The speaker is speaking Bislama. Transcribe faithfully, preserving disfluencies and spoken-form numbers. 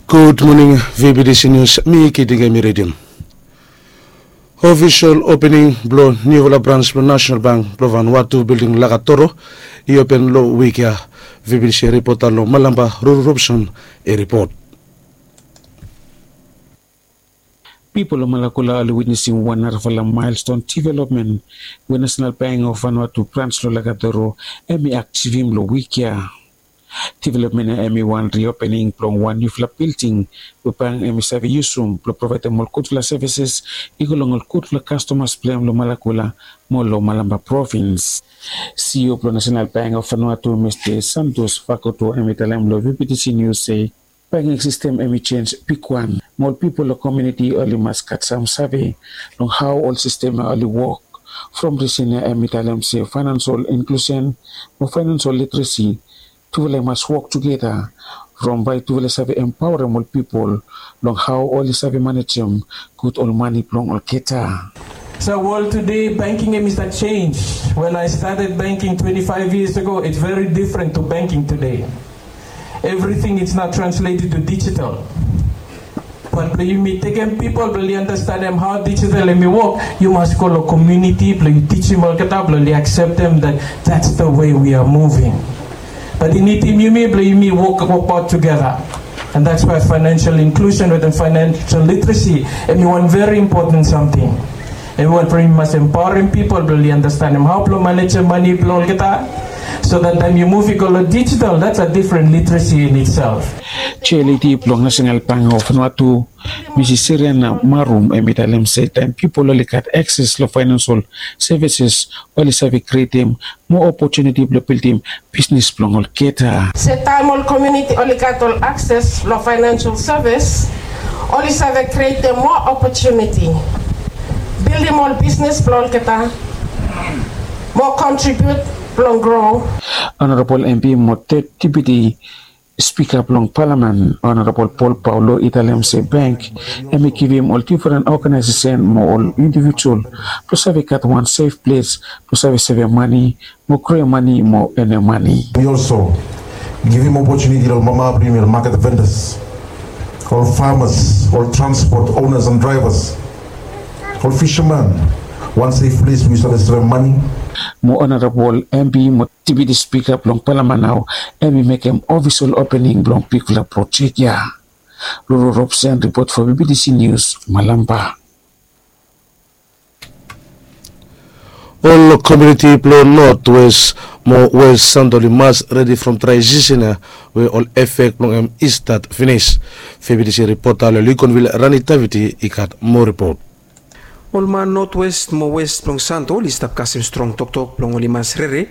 Gud moning. Vbtc nius, mi kiting em i redim. Ofisol opening blong niufala brans blong nasenal bank blong vanwatu bilding lakatoro i open long wik ya. Vbtc ripota long malamba, ruru robson, i ripot. Pipol long malakula oli witnesim wan narafala maelston divelopmen we nasenal bank of vanwatu brans long lakatoro em i aksivim long wik ya. Divelopmen ya em i wan riopening blong wan niufala bilding we bank em i save yusum blong provaedem ol gudfala sevises i go long ol gudfala kastomas blong em long malakula mo long malamba provins. Sio blong nasenal bank of vanwatu mista santos fakoto em i talem long vbtc nius se banking sistem em i sens bigwan mo ol pipol long komiuniti oli mas gat sam save long hao ol sistem ya oli wok. From risen ya em i talem se fainansol inklusen mo fainansol literesi tufala i mas wok tugeta from bae tufala i save empaorem ol pipol long hao oli save manejem gud ol mane blong olgeta. So world today banking em i start chanj. When I started banking twenty five years ago, it's very different to banking today. Everything is now translated to digital. Bat blong yumi tekem pipol blong oli andastanem hao digital em i wok, yu mas go long komiuniti blong yu tijim olgeta blong oli akseptem that that's the way we are moving. Bat i nidim yumi blong yumi wok wokbaot tugeta. And that's why financial inclusion wetem financial literacy em i wan very important samting. Em i wan blong yumi mas empaorem pipol blong oli andastanem hao blong manejem mane blong olgeta. So that taem yu muv i go long digital, that's a different literacy in itself. Jeliti blong nasenal bank of vanwatu, misis siriana marum em i talem se taem pipol oli gat akses long fainansol sevises oli save krietem moa opotuniti blong bildim bisnis blong olgeta. Se taem ol komiuniti oli gat ol akses long fainansol sevis, oli save krietem moa opotuniti bildim ol bisnis blong olgeta mo kontribiut blong gro. Honorabol empi mo deputi spika blong palamen honorabol paul paulo i talem se bank em i givim ol difren oganaesesen mo ol indivijual blong save gat wan sef ples blong save sevem mane mo kroem mane mo enem mane. Mi olso givim opotuniti long mama blong yumi ol maket vendas, ol famas, ol transpot onas an draevas, ol fisaman, wan sef ples we yu save sevem mane. Mo honorabol empi mo deputi spika blong palaman nao em i mekem ofisol opening blong bigfala projek ya. Ruru robsen ripot fo bbc nius, malamba. Ol komiuniti blong notwes mo wes santoli mas redi from trae sisen ya we ol efek blong em i stat finis. Febidisi ripota long likonvil rani davidi i gat moa ripot. Ol man notwes mo wes blong santoli stap kasem strong toktok blong oli mas rere